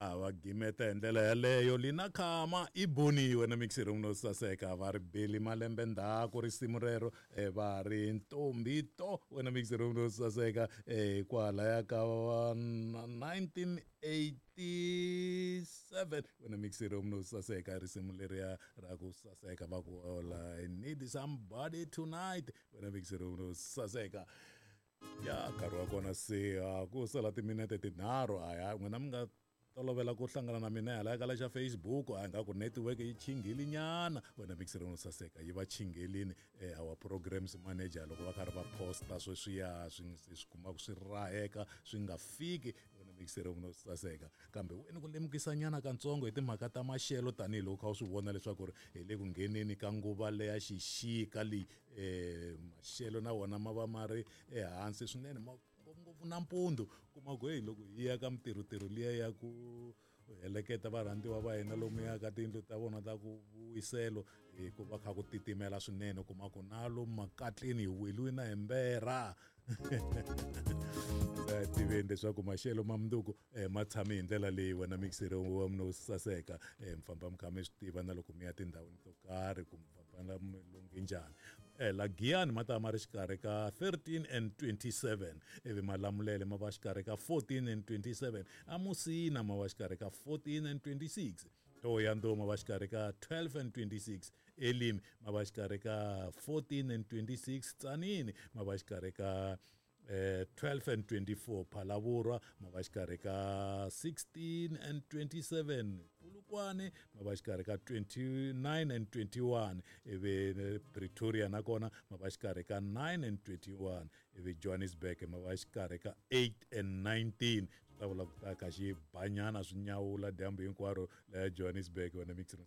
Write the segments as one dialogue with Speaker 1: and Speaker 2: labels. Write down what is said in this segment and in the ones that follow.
Speaker 1: A va gimeta hi ndlela yaleyo. Lina Khama i boniwe na mixer no saseka va ri beli malembe ndzhaku risimu rero va ri ntombi to wena mixer no saseka kwalaya ka 1987 wena mixer no saseka risimu leriya ra ku saseka va ku all I need somebody tonight wena mixer no saseka. Ya nkarhi wa kona se a ku sala timinete tinharhu a ya n'wina mi nga tolovela ku hlangana na mina hala ka lexa Facebook a nga ku network yi chinghile nyana wena mixer no saseka yi va chinghelini our programs manager loko va karhi va posta sweswiya swi swi kumaka swi raheka swi nga fiki wena mixer no saseka kambe wena ku lemukisa nyana katsongo hi timhaka ta maxelo tanihiloko kha u swi vona leswaku ri hi le ku ngheneni ka nguva leya xixika leyi maxelo na wona ma va ma ri ehansi swinene ma ngopfungopfu nampundzu kuma ku heyi loko hi ya ka mitirhotirho liya ya ku heleketa varhandziwa va hina lomuya ka tiyindlu ta vona ta ku vuwiselo hi ku va kha ku titimela swinene kuma ku na lomu makatleni hi weliwe na hi mberha tiveni leswaku maxelo ma mundzuku ma tshame hi ndlela leyi wena mixere wa mina wo saseka mi famba mi kha mi swi tiva na loko mi ya tindhawini to karhi kumbe famba mi lunghe njhani. La Giyani ma ta ma ri xikarhi ka 13 and 27 ivi Malamulele ma va xikarhi ka 14 and 27 aMusina ma va xikarhi ka 14 and 26 Thohoyandou ma va xikarhi ka 12 and 26 Elim ma va xikarhi ka 14 and 26 Tzaneen ma va xikarhi ka 12 and 24 Phalaborwa ma va xikarhi ka 16 and 27 Polokwane ma va xikarhi ka 29 and 21 ivi Pretoria nakona ma va xikarhi ka 9 and 21 ivi Johannesburg ma va xikarhi ka 8 and 19 swi ta vula ku ta ka xi banyana swi nyawula dyambu hinkwaro laya Johannesburg wena mixer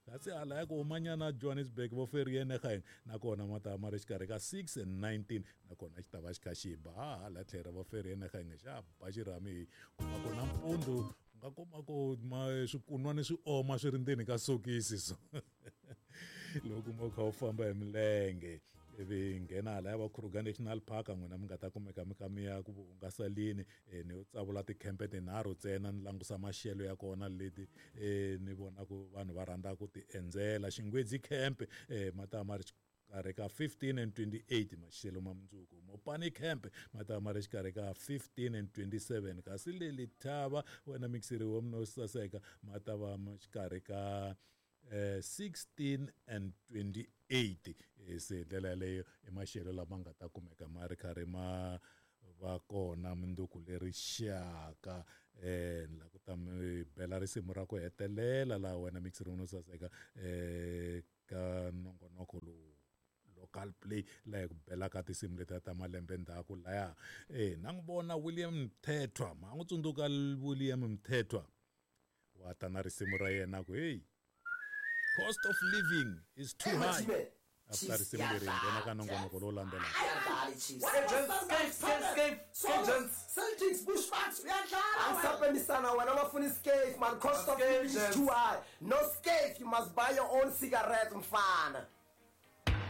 Speaker 1: kasi hala ya ku humanyana Johannesburg vo Vereeniging nakona ma ta ma ri xikarhi ka 6 and 19 nakona xi ta va xi kha xi ba hala tlhelo va Vereeniging xa ba xirhami hi kuma ku nampundzu u nga kuma ku ma swikunwani swi oma swi ri ndzeni ka sokisi so loko u kha u famba hi milenge ivi nghena hala ya va Kruger National Park n'wina mi nga ta kumeka mi kha mi ya ku hungaseleni ni yo tsavula tikhempe tinharhu ntsena ni langusa maxelo ya kona leti ni vona ku vanhu va rhandza ku ti endzela Xingwedzi camp ma ta ma ri xikarhi ka 15 and 28 maxelo ma mundzuku Mopani camp ma ta ma ri xikarhi ka 15 and 27 kasi le Lethaba wena mixiri wa mina wo saseka ma ta va xikarhi ka 16 and 28 se hi ndlela yaleyo i maxelo lama nga ta kumeka ma ri karhi ma va kona mundzuku leri xaka ni lava ku ta mi bela risimu ra ku hetelela laha wena mixiri no saseka ka nongonoko lowu local play laha hi ku belaka tinsimu letiya ta malembe ndzhaku laya na n'wi vona William Mthethwa ma n'wi tsundzuka William Mthethwa wa ta na risimu ra yena ku hey cost of living is too high after risimu leri nghena ka nongonoko lowu landzelaka
Speaker 2: Celtics Bushbucks uyadlala angisapendisana wena bafuna iscafe man cost of living is too high no scafe you must buy your own cigarette mfana.